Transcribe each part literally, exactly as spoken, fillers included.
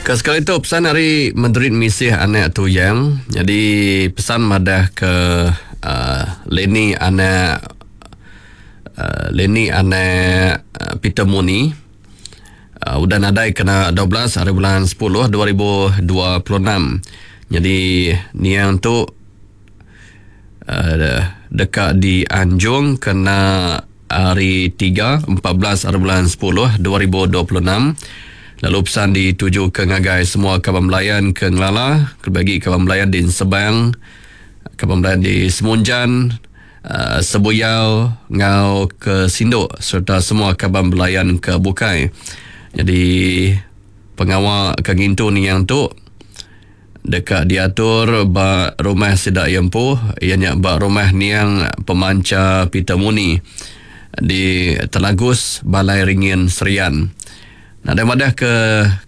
Ke sekali tu pesan ari Madrid Misih anak Tuyang. Jadi pesan madah ke uh, Lenny anak uh, Lenny anak uh, Peter Muni uh, udah nadai kena dua belas hari bulan sepuluh dua ribu dua puluh enam. Jadi niang tu uh, dekat di Anjung kena hari tiga empat belas hari bulan sepuluh dua ribu dua puluh enam. Lalu pesan dituju ke ngagai semua kaban belayan ke Ngelala, bagi kaban belayan di Sebang, kaban belayan di Semunjan, uh, Sebuyau, ngau ke Sinduk serta semua kaban belayan ke Bukai. Jadi pengawal ke ngintu niang tu dekat diatur ba rumah Sidak Yempu, ianya ba rumah niang pemanca Peter Muni di Telagus Balai Ringin Serian. Nadai madah ke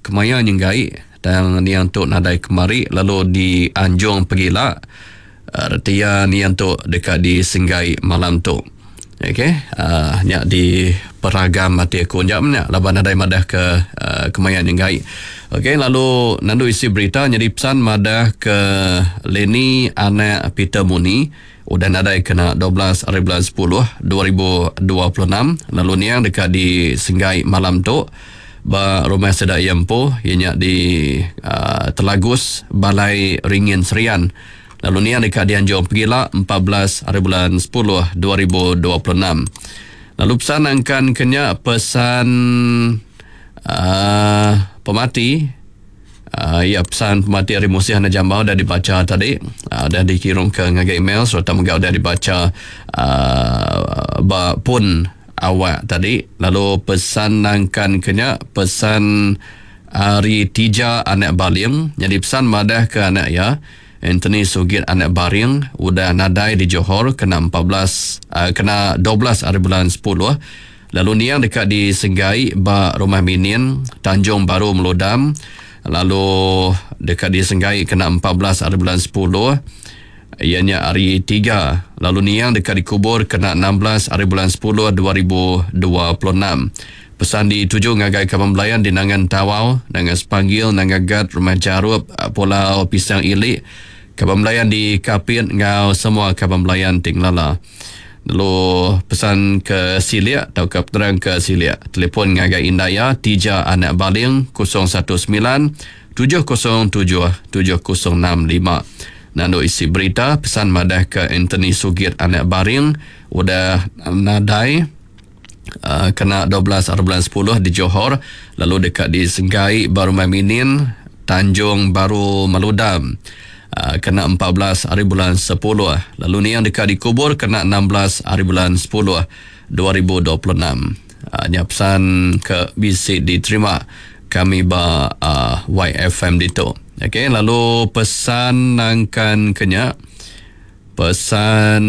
kemaya nyenggai tang niang tu nadai kemari lalu di Anjung Pegila retia niang tu dekat di Senggai malam tu. Okey, uh, nya di peragam mati aku njap nya laban nadai madah ke uh, kemaya nyenggai. Okey, lalu nandu isi berita jadi pesan madah ke Lenny anak Peter Muni udah nadai kena dua belas hari bulan sepuluh dua ribu dua puluh enam lalu niang dekat di Senggai malam tu ba rumah Sedak Yempo ianya di uh, Telagus Balai Ringin Serian. Lalu niang dekat dianjung Pegila empat belas hari bulan sepuluh dua ribu dua puluh enam. Lalu pesan angkan kenya pesan uh, pemati uh, ya pesan pemati hari Musih Anak Jambau dah dibaca tadi, uh, dah dikirim ke ngagai email serta megau dah dibaca uh, ba pun awak tadi. Lalu pesan nangkan kenya pesan hari Tija anak Baling, jadi pesan madah ke anak ya Anthony Sugit anak Baring udah nadai di Johor kena empat belas uh, kena dua belas hari bulan sepuluh. Lalu niang dekat di Senggai ba rumah Minin Tanjung Baru Meludam, lalu dekat di Senggai kena empat belas hari bulan sepuluh ianya hari tiga. Lalu niang dekat dikubur kena enam belas hari bulan sepuluh dua ribu dua puluh enam. Pesan dituju ngagai kaban belayan di Nangan Tawau, Nangan Sepanggil, Nangan Gat, Rumah Jarup, Pulau Pisang Ilik, kaban belayan di Kapit ngau semua kaban belayan Tinglala. Lalu pesan ke Siliak atau ke penerang ke Siliak. Telefon ngagai Indaya Tija Anak Baling kosong satu sembilan tujuh kosong tujuh tujuh kosong enam lima. Nandu isi berita pesan madah ke Anthony Sugit Anak Baring udah nadai uh, kena dua belas hari bulan sepuluh di Johor, lalu dekat di Senggai Baru Minin Tanjung Baru Maludam uh, kena empat belas hari bulan sepuluh, lalu ni yang dekat dikubur kena enam belas hari bulan sepuluh dua ribu dua puluh enam. Uh, nya pesan ke bisi diterima kami ba uh, Y F M ditu. Okey, lalu pesan nangkan kenya pesan